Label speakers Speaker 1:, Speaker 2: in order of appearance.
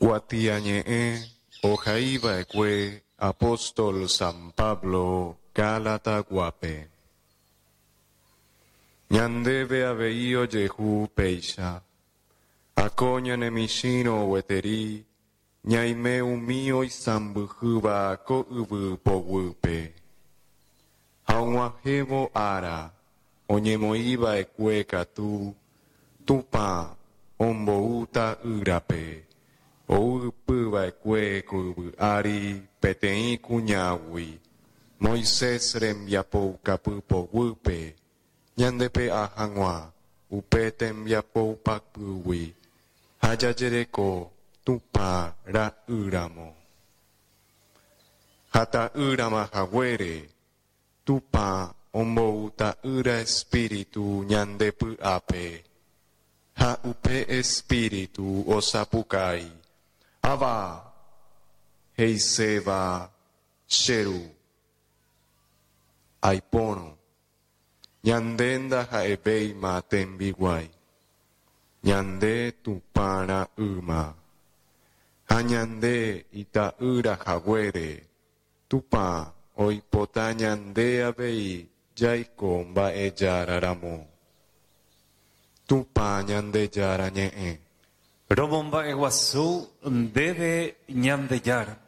Speaker 1: Kuatiañe'ẽ ohaiva'ekue apóstol San Pablo Gálataguápe. Ñandéve avei ojehu péicha, ako ñane michĩrõ gueteri ñaime umi oisãmbyhýva ko yvy poguýpe. Ha og̃uahẽvo ára oñemoĩva'ekue katu, Tupã ombou Ta'ýrape, ou ypy va'ekue ko yvy ári peteĩ kuñágui, Moisés rembiapoukapy poguýpe, ñandepe'a hag̃ua upe tembiapoupapýgui ha jajereko Tupã ra'ýramo. Ha ta'ýrama haguére, Tupã ombou Ta'ýra Espíritu ñande py'ápe, ha upe Espíritu osapukái, Abba! He'iséva, Che Ru. Aipórõ, ñande ndaha'evéima tembiguái, ñande Tupã ra'ýma, ha ñande ita'ýra haguére Tupã oipota ñande avei jaiko mba'ejára ramo. Tupã Ñandejára ñe'ẽ.
Speaker 2: Romomba'eguasu ndéve Ñandejára.